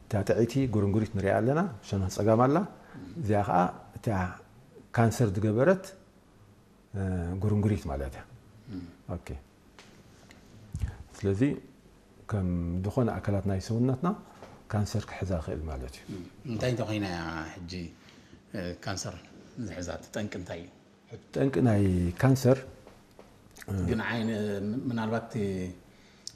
እታ ጥዕይቲ ጉርንጉሪት ንሪኣ ኣለና፣ ሸነኽ ጸጋም ኣላ። እዚኣ ኸዓ እታ ካንሰር ዝገበረት፣ እ፣ ጉርንጉሪት ማለት እያ። ኦኬ። ስለዚ ከም ዝኾነ ኣካላት ናይ ሰውነትና ካንሰር ክሕዛ ይኽእል ማለት እዩ። እንታይ እንተኾይና እያ ሕጂ፣ እ፣ ካንሰር ዝሕዛ? እቲ ጠንቂ እንታይ እዩ? ጠንቂ ናይ ካንሰር ግን ዓይነ ምናልባት እቲ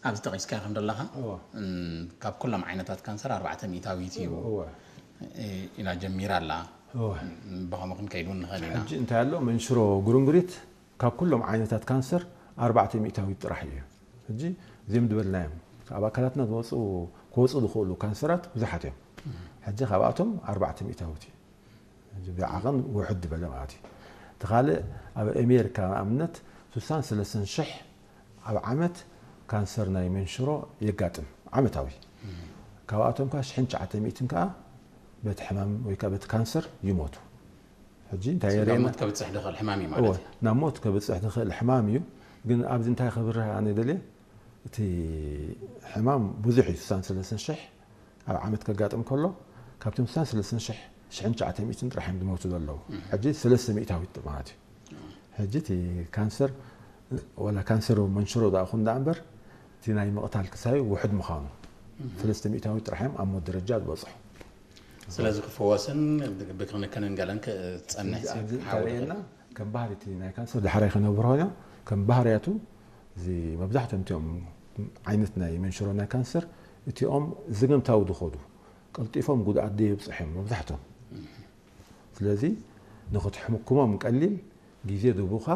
ኣብዚ ጠቒስካ ከም ዘለኻ፣ እወ። እም፣ ካብ ኩሎም ዓይነታት ካንሰር ኣርባዕተ ሚእታዊት እዩ፣ እወ። እ፣ ኢላ ጀሚራ ኣላ። እወ። እም፣ ብኸምኡ ክንከይድ እውን ንኽእል ኢና። ሕጂ እንታይ ኣሎ፣ መንሽሮ ጉርንጉሪት ካብ ኩሎም ዓይነታት ካንሰር ኣርባዕተ ሚእታዊት ጥራሕ እዩ። ሕጂ እዚኦም ዝበልናዮም ኣብ ኣካላትና ዝወፁ፣ ክወፁ ዝኽእሉ ካንሰራት ብዙሓት እዮም። ሕጂ ካብኣቶም ኣርባዕተ ሚእታዊት እዩ። ሕጂ ብዓቐን ውሕድ ዝበለ ማለት እዩ። እቲ ካልእ ኣብ ኣሜሪካ ንኣብነት ስሳን ሰለስተን ሽሕ ኣብ ዓመት ካንሰር ናይ መንሽሮ የጋጥም ዓመታዊ። ካብኣቶም ከ ሽሕን ትሽዓተ ሚእትን ከኣ በቲ ሕማም ወይ ከኣ በቲ ካንሰር ይሞቱ። ሕጂ እንታይ ናብ የርእየና? ሞት ከብፅሕ ዝኽእል ሕማም እዩ እወ፣ ማለት እዩ። ናብ ሞት ከብፅሕ ዝኽእል ሕማም እዩ። ግን ኣብዚ እንታይ ከብርህ ኣነ ደልየ፣ እቲ ሕማም ብዙሕ እዩ። ስሳን ሰለስተን ሽሕ ኣብ ዓመት ከጋጥም ከሎ፣ ካብቶም ስሳን ሰለስተን ሽሕ፣ ሽሕን ትሽዓተ ሚእትን ጥራሕ እዮም ዝሞቱ ዘለዉ። ሕጂ ሰለስተ ሚእታዊት ማለት እዩ። ሕጂ እቲ ካንሰር፣ ወላ ካንሰር መንሽሮ ደኣ ኹን ደኣ እምበር፣ እቲ ናይ ምቕታል ክሳዩ ውሕድ ምዃኑ፣ ሰለስተ ሚእታዊት ጥራሕ እዮም ኣብ ሞት ደረጃ ዝበፅሑ። ስለዚ ክፍወስን ብክንክንን ገለን ክፀንሕ እዚ ኣብዚ እንተርእየና ከም ባህሪ እቲ ናይ ካንሰር ዳሕራይ ከነብርሆ ኢና። ከም ባህርያቱ እዚ መብዛሕትኦም እቲኦም ዓይነት ናይ መንሽሮ ናይ ካንሰር እቲኦም ዘገምታዊ ዝኸዱ ቀልጢፎም ጉድኣት ደየብፅሑ እዮም መብዛሕትኦም። ስለዚ ንክትሕምኩሞም ቀሊል ግዜ ድቡኻ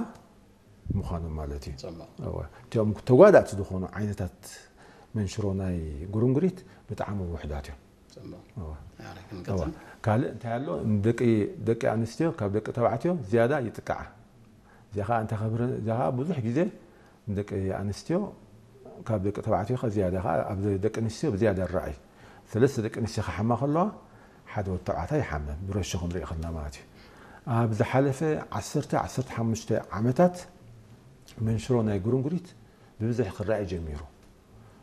ምዃኖም ማለት እዩ። ፅቡቕ። እወ። እቲኦም ተጓዳእቲ ዝኾኑ ዓይነታት መንሽሮ ናይ ጉርንጉሪት ብጣዕሚ ውሕዳት እዮም። ፅቡቕ። እወ። ኣረ እወ። ክንቀፅል። ካልእ እንታይ ኣሎ፣ ንደቂ ደቂ ኣንስትዮ ካብ ደቂ ተባዕትዮ ዝያዳ ይጥቃዓ። እዚኣ ኸዓ እንታይ ከብር፣ እዚኣ ኸዓ ብዙሕ ግዜ ንደቂ ኣንስትዮ ካብ ደቂ ተባዕትዮ ከ ዝያዳ ኸዓ ኣብ ደቂ ኣንስትዮ ብዝያዳ ይረኣይ። ሰለስተ ደቂ ኣንስትዮ ክሓማ ከለዋ ሓደ ወዲ ተባዕታይ ይሓመ፣ ብረሾ ክንርኢ ከለና ማለት እዩ። ኣብ ዝሓለፈ ዓሰርተ ዓሰርተ ሓሙሽተ ዓመታት መንሽሮ ናይ ጉርንጉሪት ብብዝሒ ክረኣይ ጀሚሩ።